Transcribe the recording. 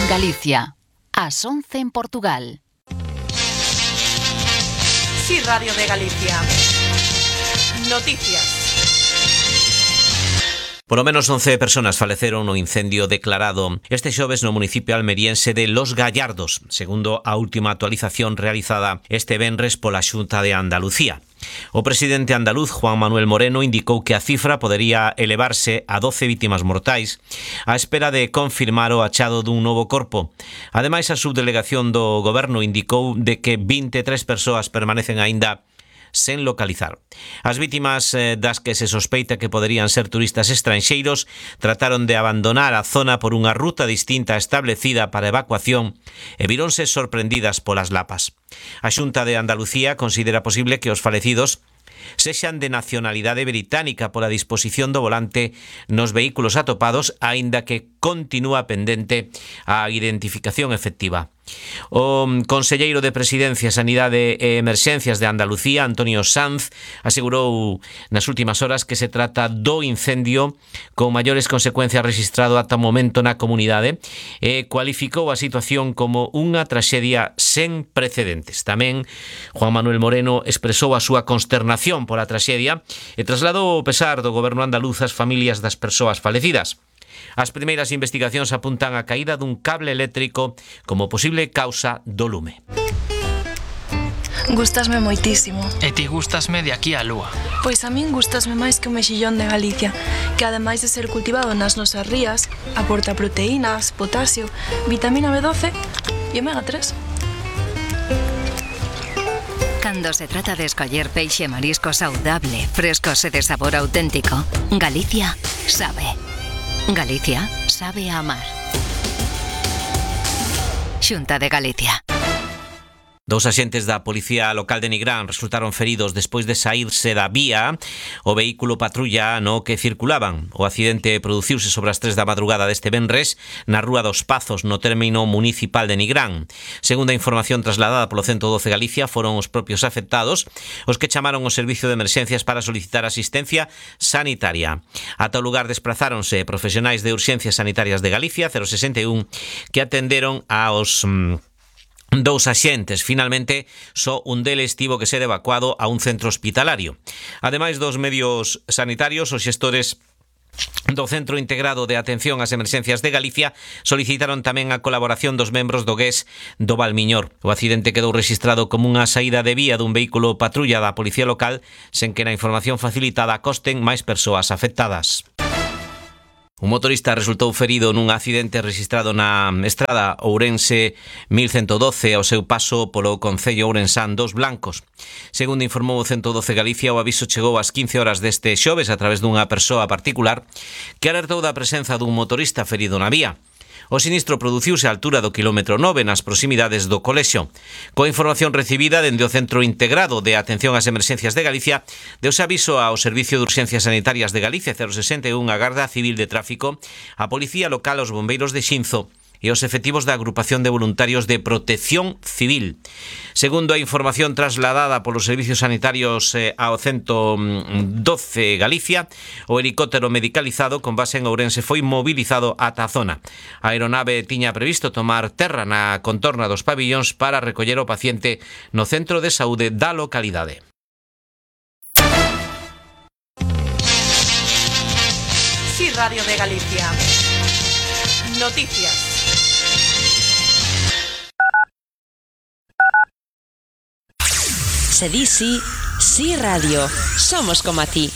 Galicia, ás 11 en Portugal. Sí, Radio de Galicia. Noticias. Polo menos 11 personas faleceron no incendio declarado este xoves no municipio almeriense de Los Gallardos, segundo a última actualización realizada este venres pola Xunta de Andalucía. O presidente andaluz, Juan Manuel Moreno, indicou que a cifra podería elevarse a 12 vítimas mortais á espera de confirmar o achado dun novo corpo. Ademais, a subdelegación do goberno indicou de que 23 persoas permanecen aínda sen localizar. As vítimas das que se sospeita que poderían ser turistas estranxeiros trataron de abandonar a zona por unha ruta distinta establecida para evacuación e vironse sorprendidas polas lapas. A Xunta de Andalucía considera posible que os falecidos sexan de nacionalidade británica pola disposición do volante nos vehículos atopados, aínda que continúa pendente a identificación efectiva. O conselleiro de Presidencia, Sanidade e Emerxencias de Andalucía, Antonio Sanz, asegurou nas últimas horas que se trata do incendio con maiores consecuencias registrado ata o momento na comunidade e cualificou a situación como unha traxedia sen precedentes. Tamén Juan Manuel Moreno expresou a súa consternación pola traxedia e trasladou o pesar do goberno andaluz ás familias das persoas falecidas. As primeiras investigacións apuntan a caída dun cable eléctrico como posible causa do lume. Gústasme moitísimo. E ti gústasme de aquí á lúa. Pois a min gústasme máis que o mexillón de Galicia, que ademais de ser cultivado nas nosas rías, aporta proteínas, potasio, vitamina B12 e omega 3. Cando se trata de escoller peixe e marisco saudable, frescos e de sabor auténtico, Galicia sabe. Galicia sabe a amar. Xunta de Galicia. Dous axentes da Policía Local de Nigrán resultaron feridos despois de saírse da vía o vehículo patrulla no que circulaban. O accidente produciuse sobre as 3 da madrugada deste venres na Rúa dos Pazos, no término municipal de Nigrán. Segundo a información trasladada polo 112 Galicia, foron os propios afectados os que chamaron o servicio de emerxencias para solicitar asistencia sanitaria. Ata o lugar desprazáronse profesionais de urxencias sanitarias de Galicia, 061, que atenderon aos dous axentes. Finalmente, só un deles tivo que ser evacuado a un centro hospitalario. Ademais dos medios sanitarios, os xestores do Centro Integrado de Atención ás Emerxencias de Galicia solicitaron tamén a colaboración dos membros do GES do Valmiñor. O accidente quedou rexistrado como unha saída de vía dun vehículo patrulla da Policía Local, sen que na información facilitada consten máis persoas afectadas. Un motorista resultou ferido nun accidente registrado na estrada Ourense 1112 ao seu paso polo concello ourensán dos Blancos. Segundo informou o 112 Galicia, o aviso chegou ás 15 horas deste xoves a través dunha persoa particular que alertou da presenza dun motorista ferido na vía. O sinistro produciuse á altura do quilómetro 9 nas proximidades do colexio. Coa información recibida dende o Centro Integrado de Atención ás Emerxencias de Galicia, deuse aviso ao Servicio de Urxencias Sanitarias de Galicia 061, a Garda Civil de Tráfico, a Policía Local, os bombeiros de Xinzo e os efectivos da Agrupación de Voluntarios de Protección Civil. Segundo a información trasladada polos servicios sanitarios ao 112 Galicia, o helicóptero medicalizado con base en Ourense foi mobilizado ata a zona. A aeronave tiña previsto tomar terra na contorna dos pabillóns para recoller o paciente no centro de saúde da localidade. Sí, Radio de Galicia. Noticias. Se di sí, sí radio. Somos como a ti.